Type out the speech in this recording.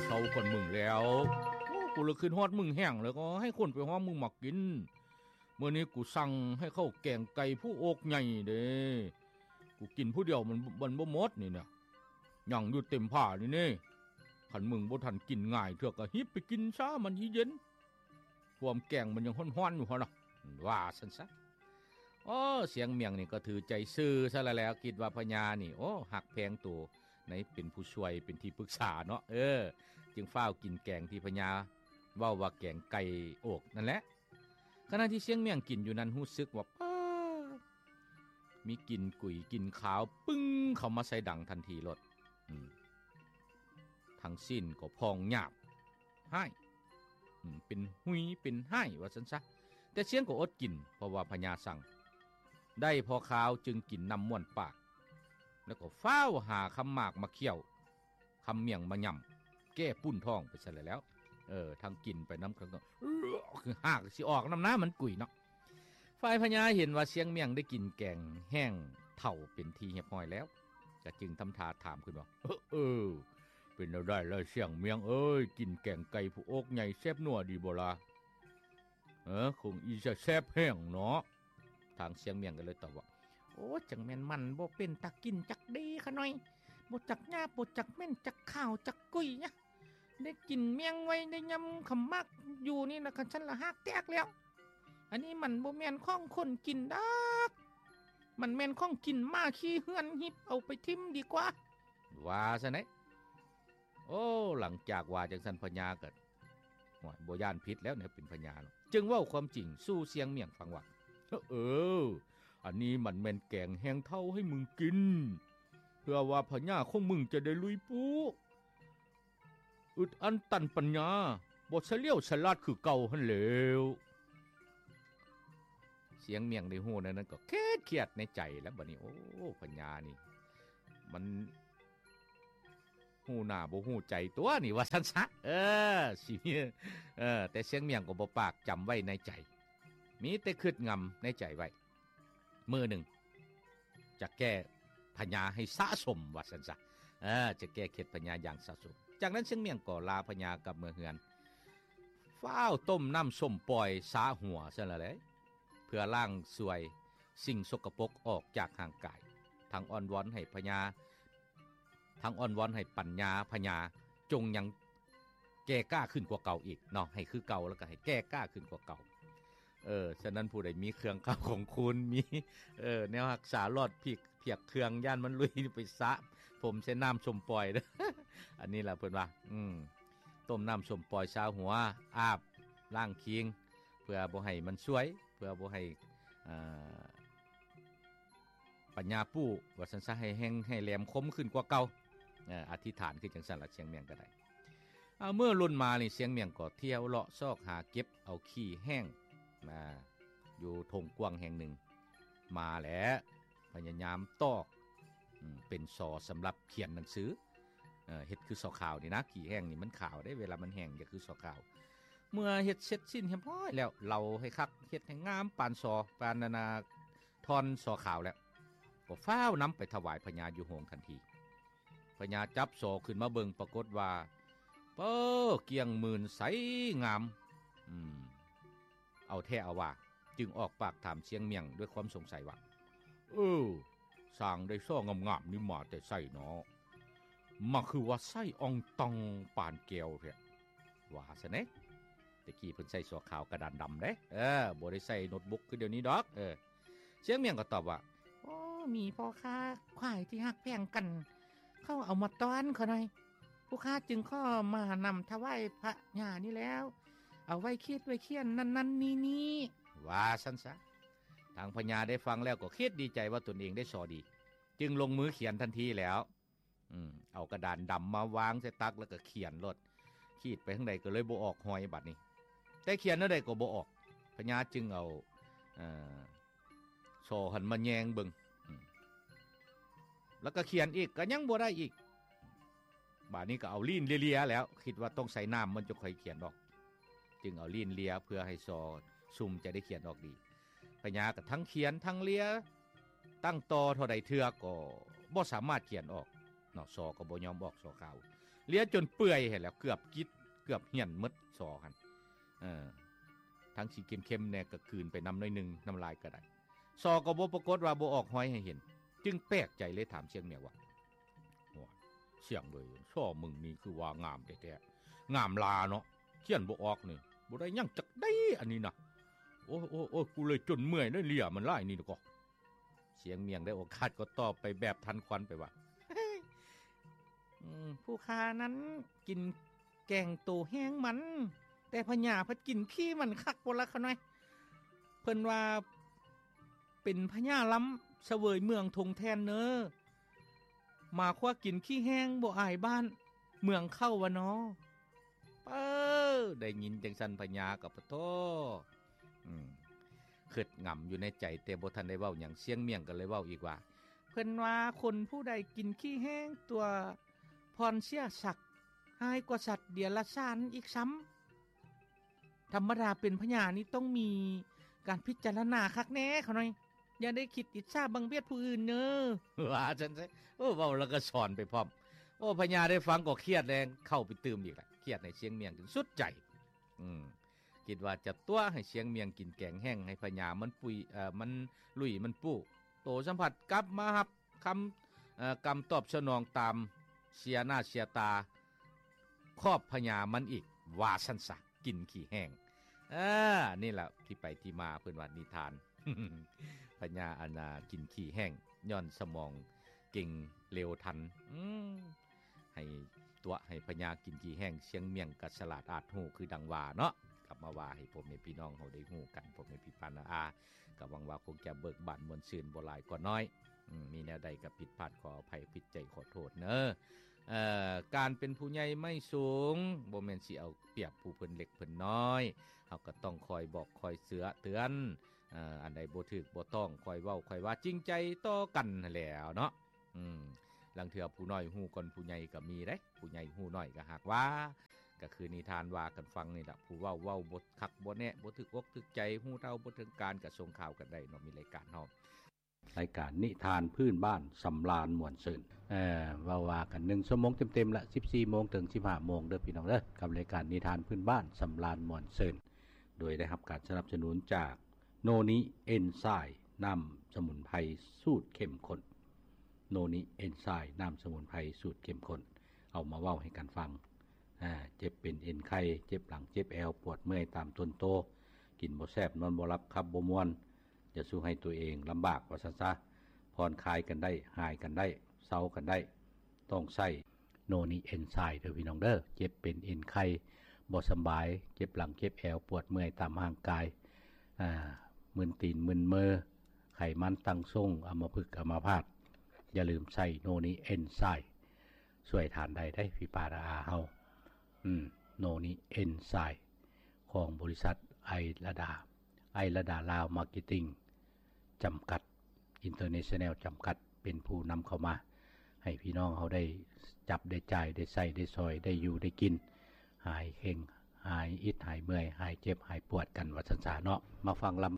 ເຖົ້າກ່ອນມຶງແລ້ວ. ໂອ້ ກູລະຄຶດຮອດມຶງແຮງ ແລ້ວກໍໃຫ້ຄົນໄປຫາມຶງມາກິນ. ມື້ນີ້ກູສັ່ງໃຫ້ເຂົາແກງໄກ່ຜູ້ອົກໃຫຍ່ເດ້. ກູກິນຜູ້ດຽວມັນ ມັນບໍ່ໝົດນີ້ນະ. ຍັງຢູ່ເຕັມຜ້ານີ້ເດ້. ຄັນມຶງບໍ່ທັນກິນງ່າຍເທື່ອ ກໍຮີບໄປກິນຊະ ມັນຊິເຢັນ. ພວມແກງມັນຍັງຮ້ອນໆຢູ່ຫັ້ນນະ ວ່າຊັ້ນຊະ. ໂອ້ ຊຽງໝ້ຽງນີ້ກໍຖືໃຈຊື່ຊະລະແລ້ວ ຄິດວ່າພະຍານີ້ ໂອ້ ຮັກແພງໂຕໃນເປັນຜູ້ຊ່ວຍ ເປັນທີ່ປຶກສາເນາະ. ເອີ ຈຶ່ງຟ້າວກິນແກງທີ່ພະຍາເວົ້າວ່າແກງໄກ່ອົກນັ້ນແຫຼະ. ຂະນະທີ່ຊຽງໝ້ຽງກິນຢູ່ນັ້ນ ຮູ້ສຶກວ່າ ປາດ ມີກິ່ນກຸຍກິ່ນຄາວປຶ້ງເຂົ້າມາໃສ່ດັງທັນທີໂລດ. ອືມ ທັງຊີ້ນກໍພອງຫຍາບ ຮ້າຍ ເປັນຫຸຍເປັນຮ້າຍວ່າຊັ້ນຊະ. ແຕ່ຊຽງກໍອົດກິນ ເພາະວ່າພະຍາສັ່ງ. ໄດ້ພໍຄາວຈຶ່ງກິນນ້ຳມ້ວນປາກ ແລ້ວກໍຟ້າວຫາຄຳໝາກມາຄ້ຽວ ຄຳໝ້ຽງມາຫຍ້ຳ ແກ້ປຸ້ນທ້ອງໄປຊະແລ້ວ. ເອີ ທັງກິນໄປນຳກັນກໍ ຄືຮາກຊິອອກນຳນະ ມັນກຸຍເນາະ. ຝ່າຍພະຍາເຫັນວ່າຊຽງໝ້ຽງໄດ້ກິນແກງແຫ້ງເຖົ້າເປັນທີ່ຮຽບຮ້ອຍແລ້ວ ກະຈຶ່ງທຳທ່າຖາມຂຶ້ນວ່າ ເອີ ເປັນແນວໃດລະຊຽງໝ້ຽງເອີຍ ກິນແກງໄກ່ຜູ້ອົກໃຫຍ່ແຊບນົວດີບໍ່ລະ? ເອີ ຄົງອີຈະແຊບແຮງເນາະ. ທາງຊຽງໝ້ຽງກໍເລີຍຕອບວ່າ ໂອ້ ຈັ່ງແມ່ນມັນບໍ່ເປັນຕາກິນຈັກດີຂະໜ້ອຍ ບໍ່ຈັກຫຍາບ ບໍ່ຈັກເໝັນ ຈັກຄາວ ຈັກກຸຍນະ. ໄດ້ກິນແມງໄວ້ ໄດ້ຫຍ້ຳຄຳໝາກຢູ່ນີ້ນະ ຄັນຊັ້ນລະຮາກແຕກແລ້ວ. ອັນນີ້ມັນບໍ່ແມ່ນຂອງຄົນກິນດອກ ມັນແມ່ນຂອງກິນໝາຂີ້ເຮືອນ ຮີບເອົາໄປຖິ້ມດີກວ່າ ວ່າຊັ້ນເດ. ໂອ້ ຫຼັງຈາກວ່າຈັ່ງຊັ້ນ ພະຍາກໍ ໂອ້ຍ ບໍ່ຢ້ານຜິດແລ້ວແນວເປັນພະຍາເນາະ ຈຶ່ງເວົ້າຄວາມຈິງສູ່ຊຽງໝ້ຽງຟັງວ່າ ເອີ ອັນນີ້ມັນແມ່ນແກງແຫ້ງເຖົ້າໃຫ້ມຶງກິນ ເພື່ອວ່າພະຍາຂອງມຶງຈະໄດ້ລຸຍປູ້ ອຶດອັນຕັນປັນຍາ ບໍ່ສະຫຼຽວສະຫຼາດຄືເກົ່າຫັ້ນແລ້ວ. ຊຽງໝ້ຽງໄດ້ຮູ້ແນວນັ້ນກໍຄຽດໆໃນໃຈແລ້ວ ບັດນີ້ ໂອ້ ພະຍານີ້ມັນຮູ້ໜ້າບໍ່ຮູ້ໃຈຕົວະນີ້ ວ່າຊັ້ນຊະ. ເອີ ຊິມີ ເອີ ແຕ່ຊຽງໝ້ຽງກໍບໍ່ປາກ ຈຳໄວ້ໃນໃຈ ມີແຕ່ຄຶດງຳໃນໃຈໄວ້. ມື້ໜຶ່ງຈະແກ້ພະຍາໃຫ້ສະສົມ ວ່າຊັ້ນຊະ. ເອີ ຈະແກ້ເຂັດພະຍາຢ່າງສະສົມ. ຈາກນັ້ນຊຽງໝ້ຽງກໍລາພະຍາກັບເມືອເຮືອນ ຟ້າວຕົ້ມນ້ຳສົ້ມປ່ອຍສະຫົວຊັ້ນລະແຫຼະ ເພື່ອລ້າງຊ່ວຍສິ່ງສົກກະປົກອອກຈາກຮ່າງກາຍ ທັງອ້ອນວອນໃຫ້ພະຍາ ທັງອ້ອນວອນໃຫ້ປັນຍາພະຍາຈົ່ງຍັງແກ່ກ້າຂຶ້ນກວ່າເກົ່າອີກເນາະ ໃຫ້ຄືເກົ່າ ແລ້ວກໍໃຫ້ແກ່ກ້າຂຶ້ນກວ່າເກົ່າ. ເອີ ສະນັ້ນຜູ້ໃດມີເຄື່ອງເຂົ້າຂອງຄູນ ມີ ເອີ ແນວຮັກສາຫຼອດພິກ ພຽກເຄື່ອງ ຢ້ານມັນລຸຍ ໄປສະຜົມໃສ່ນ້ຳສົ້ມປ່ອຍເດີ້. ອັນນີ້ລະເພິ່ນວ່າ ອືມ ຕົ້ມນ້ຳສົ້ມປ່ອຍສະຫົວ ອາບລ້າງຄີງ ເພື່ອບໍ່ໃຫ້ມັນຊ່ວຍ ເພື່ອບໍ່ໃຫ້ ເອີ ປັນຍາປູ້ ວ່າຊັ້ນຊະ ໃຫ້ແຮງໃຫ້ແຫຼມຄົມຂຶ້ນກວ່າເກົ່າ. ເອີ ອະທິຖານຄືຈັ່ງຊັ້ນລະ ຊຽງໝ້ຽງກໍໄດ້. ເອົາ ມື້ລຸນມານີ້ ຊຽງໝ້ຽງກໍທ່ຽວເລາະຊອກຫາເກັບເອົາຂີ້ແຫ້ງ ມາຢູ່ທົ່ງກວ້າງແຫ່ງໜຶ່ງມາແຫຼະ ພະຍາຍາມຕອກ ອືມ ເປັນສໍສຳລັບຂຽນໜັງສື. ເອີ ເຮັດຄືສໍຂາວນີ້ນະ ຂີ້ແຫ້ງນີ້ມັນຂາວເດ້ ເວລາມັນແຫ້ງຈະຄືສໍຂາວ. ເມື່ອເຮັດເສັດສິ້ນຮຽບຮ້ອຍແລ້ວ ເລົາໃຫ້ຄັກ ເຮັດໃຫ້ງາມປານສໍ ປານອັນນ່າ ທ່ອນສໍຂາວແລ້ວ ກໍຟ້າວນຳໄປຖວາຍພະຍາຢູ່ໂຮງທັນທີ. ພະຍາຈັບສໍຂຶ້ນມາເບິ່ງ ປາກົດວ່າ ເປີ ກ້ຽງໝື່ນໃສງາມ ອືມ ເອົາແທ້ເອົາວ່າ ຈຶ່ງອອກປາກຖາມຊຽງໝ້ຽງດ້ວຍຄວາມສົງໄສວ່າ ເອີ ຊ່າງໄດ້ສໍງາມໆນີ້ມາແຕ່ໃສເນາະ? ມາຄືວ່າໃສອ່ອງຕ່ອງປານແກ້ວແທ້ ວ່າຊັ້ນເດ. ແຕ່ກີ້ເພິ່ນໃສ່ສໍຂາວກະດານດຳເດ້ ເອີ ບໍ່ໄດ້ໃສ່ໂນ້ດບຸກຄືດຽວນີ້ດອກ. ເອີ ຊຽງໝ້ຽງກໍຕອບວ່າ ໂອ້ ມີພໍ່ຄ້າຂາຍທີ່ຮັກແພງກັນ ເຂົາເອົາມາຕ້ອນຂ້ອຍໜ້ອຍ ຜູ້ຂ້າຈຶ່ງຂໍມານຳຖວາຍພະຍານີ້ແລ້ວ ເອົາໄວ້ຂີດໄວ້ຂຽນນັ້ນໆນີ້ໆ ວ່າຊັ້ນຊະ. ທາງພະຍາໄດ້ຟັງແລ້ວກໍຄິດດີໃຈວ່າຕົນເອງໄດ້ສໍດີ ຈຶ່ງລົງມືຂຽນທັນທີແລ້ວ. ອືມ ເອົາກະດານດຳມາວາງໃສ່ຕັກ ແລ້ວກໍຂຽນໂລດ ຂີດໄປທາງໃດກໍເລີຍບໍ່ອອກຮອຍບາດນີ້. ແຕ່ຂຽນແນວໃດກໍບໍ່ອອກ ພະຍາຈຶ່ງເອົາ ເອີ ສໍຫັ້ນມາແຍງເບິ່ງ ອືມ ແລ້ວກໍຂຽນອີກ ກໍຍັງບໍ່ໄດ້ອີກ. ບາດນີ້ກໍເອົາລີ້ນເລຍໆແລ້ວ ຄິດວ່າຕ້ອງໃສ່ນ້ຳມັນຈະຄ່ອຍຂຽນອອກ ຈຶ່ງເອົາລີ້ນເລຍເພື່ອໃຫ້ສໍຊຸ່ມຈະໄດ້ຂຽນອອກດີ. ພະຍາກໍທັງຂຽນທັງເລຍ ຕັ້ງຕໍ່ເທົ່າໃດເທື່ອກໍບໍ່ສາມາດຂຽນອອກເນາະ ສໍກໍບໍ່ຍອມອອກ ສໍຂາວ. ເລຍຈົນເປື່ອຍຫັ້ນແຫຼະ ເກືອບກິດ ເກືອບຫ້ຽນໝົດ ສໍ່ຫັ້ນ. ເອີ ທັງຊິເຄັມໆແດ່ກໍກືນໄປນຳໜ້ອຍໜຶ່ງ ນ້ຳລາຍກໍໄດ້. ສໍ່ກໍບໍ່ປາກົດວ່າບໍ່ອອກຮອຍໃຫ້ເຫັນ ຈຶ່ງແປກໃຈເລີຍຖາມຊຽງມຽງວ່າ ໂອ້ຍ ຊຽງເອີຍ ສໍ່ມຶງນີ້ຄືວ່າງາມແທ້ໆ ງາມຫຼ້າເນາະ ຂຽນບໍ່ອອກນີ້ ບໍ່ໄດ້ຫຍັງຈັກໃດອັນນີ້ນະ. ໂອ້ຍ ໂອ້ຍ ໂອ້ຍ ກູເລີຍຈົນເມື່ອຍເລີຍ ເລຍມັນຫຼາຍນີ້ນະກໍ. ຊຽງມຽງໄດ້ໂອກາດກໍຕອບໄປແບບທັນຄວັນໄປວ່າ ອືມ ຜູ້ຂ້ານັ້ນກິນແກງໂຕແຫ້ງມັນ ແຕ່ພະຍາພັດກິນຂີ້ມັນຄັກບໍ່ລະຂະນ້ອຍ. ເພິ່ນວ່າເປັນພະຍາລ້ຳສະເຫວີຍເມືອງທົ່ງແທ່ນເນີ ໝາຂວ້າກິນຂີ້ແຫ້ງບໍ່ອາຍບ້ານເມືອງເຂົາວ່ານໍ. ເອີ ໄດ້ຍິນຈັ່ງຊັ້ນພະຍາກໍປະໂທ ອືມ ຄິດງຳຢູ່ໃນໃຈ ແຕ່ບໍ່ທັນໄດ້ເວົ້າຫຍັງ ຊຽງມຽງກໍເລີຍເວົ້າອີກວ່າ ເພິ່ນວ່າຄົນຜູ້ໃດກິນຂີ້ແຫ້ງຕົວະ ພອນເສຍສັກ ຮ້າຍກວ່າສັດເດຍລະສານອີກຊ້ຳ. ທຳມະດາເປັນພະຍານີ້ຕ້ອງມີການພິຈາລະນາຄັກແນ່ຂະນ້ອຍ ຢ່າໄດ້ຄິດອິດສາບັງບຽດຜູ້ອື່ນເນີ ວ່າຊັ້ນຊະ. ໂອ້ ເວົ້າແລ້ວກໍສອນໄປພ້ອມ. ໂອ້ ພະຍາໄດ້ຟັງກໍຄຽດແຮງ ເຂົ້າໄປຕື່ມອີກລະ ຄຽດໃຫ້ຊຽງມຽງຈົນສຸດໃຈ. ອືມ ຄິດວ່າຈະຕົວະໃຫ້ຊຽງມຽງກິນແກງແຫ້ງ ໃຫ້ພະຍາມັນປຸຍ ເອີ ມັນລຸຍມັນປູ້ ໂຕສຳຜັດກັບມາຮັບຄຳ ເອີ ກຳຕອບສະໜອງຕາມເສຍໜ້າເສຍຕາຂອບພະຍາມັນອີກ ວ່າຊັ້ນຊະ ກິນຂີ້ແຫ້ງ. ເອີ ນີ້ລະທີ່ໄປທີ່ມາເພິ່ນວ່ານິທານ ພະຍາອັນນ່າກິນຂີ້ແຫ້ງ ຍ້ອນສະໝອງເກັ່ງເລວທັນ. ອືມ ໃຫ້ຕົວະໃຫ້ພະຍາກິນຂີ້ແຫ້ງ ຊຽງມຽງກໍສະຫຼາດອາດຮູ້ຄືດັ່ງວ່າເນາະ. ກັບມາວ່າໃຫ້ພໍ່ແມ່ພີ່ນ້ອງເຮົາໄດ້ຮູ້ກັນ ພໍ່ແມ່ພີ່ປ້ານ້າອາ ກໍຫວັງວ່າຄົງຈະເບີກບານມ່ວນຊື່ນບໍ່ຫຼາຍກໍໜ້ອຍ. ອືມ ມີແນວໃດກໍຜິດພາດຂໍອະໄພ ຜິດໃຈຂໍໂທດເນີ. ເອີ ການເປັນຜູ້ໃຫຍ່ໄມ້ສູງ ບໍ່ແມ່ນຊິເອົາປຽບຜູ້ເພິ່ນເລັກເພິ່ນນ້ອຍ ເຮົາກໍຕ້ອງຄອຍບອກຄອຍເຕືອນ ເອີ ອັນໃດບໍ່ຖືກບໍ່ຕ້ອງ ຄອຍເວົ້າຄອຍວ່າ ຈິງໃຈຕໍ່ກັນຫັ້ນແຫຼ້ວເນາະ. ອືມ ລາງເທື່ອຜູ້ນ້ອຍຮູ້ກ່ອນຜູ້ໃຫຍ່ກໍມີເດ້ ຜູ້ໃຫຍ່ຮູ້ໜ້ອຍກໍຫາກວ່າ ກໍຄືນິທານວ່າກັນຟັງນີ້ລະ ຜູ້ເວົ້າເວົ້າບໍ່ຄັກບໍ່ແນ່ ບໍ່ຖືກອົກຖືກໃຈ ຮູ້ເທົ່າບໍ່ເຖິງການ ກໍສົ່ງຂ່າວກັນໄດ້ເນາະ ມີລາຍການເຮົາ ລາຍການນິທານພື້ນບ້ານສຳລານມ່ວນຊື່ນ. ເອີ ເວົ້າວ່າກັນໜຶ່ງຊົ່ວໂມງເຕັມໆລະ ສິບສີ່ໂມງເຖິງສິບຫ້າໂມງເດີພີ່ນ້ອງເດີ ກັບລາຍການນິທານພື້ນບ້ານສຳລານມ່ວນຊື່ນ ໂດຍໄດ້ຮັບການສະໜັບສະໜູນຈາກ ໂນນິເອັນໄຊ ນ້ຳສະໝຸນໄພສູດເຂັ້ມຂຸ້ນ. ໂນນິເອັນໄຊ ນ້ຳສະໝຸນໄພສູດເຂັ້ມຂຸ້ນ ເອົາມາເວົ້າໃຫ້ກັນຟັງ. ອາ ເຈັບເປັນເອັນໄຂ່ ເຈັບຫຼັງ ເຈັບແອວ ປວດເມື່ອຍຕາມຕົນໂຕ ກິນບໍ່ແຊບ ນອນບໍ່ຫຼັບ ຂັບບໍ່ມ່ວນ ຈະສູ່ໃຫ້ຕົວເອງລຳບາກວ່າຊັ້ນຊະ ຜ່ອນຄາຍກັນໄດ້ ຫາຍກັນໄດ້ ເຊົາກັນໄດ້ ຕ້ອງໃຊ້ ໂນນິເອັນໄຊເດີພີ່ນ້ອງເດີ. ເຈັບເປັນເອັນໄຂ່ ບໍ່ສຳບາຍ ເຈັບຫຼັງເຈັບແອວ ປວດເມື່ອຍຕາມຮ່າງກາຍ ອາ ມຶນຕີນມຶນມື ໄຂມັນຕັ້ງຊົງ ອຳມະພຶກອຳມະພາດ ຢ່າລືມໃຊ້ໂນນິເອັນໄຊ ຊ່ວຍທ່ານໄດ້ເດ້ພີ່ປ້ານ້າອາເຮົາ. ອືມ ໂນນິເອັນໄຊ ຂອງບໍລິສັດໄອລະດາ ໄອລະດາລາວມາເກັດຕິງ ຈຳກັດ ອິນເຕີເນຊັນແນວ ຈຳກັດ ເປັນຜູ້ນຳເຂົ້າມາ ໃຫ້ພີ່ນ້ອງເຮົາໄດ້ຈັບໄດ້ຈ່າຍ ໄດ້ໃຊ້ໄດ້ສອຍ ໄດ້ຢູ່ໄດ້ກິນ ຫາຍເຄັ່ງ ຫາຍອິດ ຫາຍເມື່ອຍ ຫາຍເຈັບ ຫາຍປວດກັນ ວ່າຊັ້ນຊະເນາະ. ມາຟັງລຳ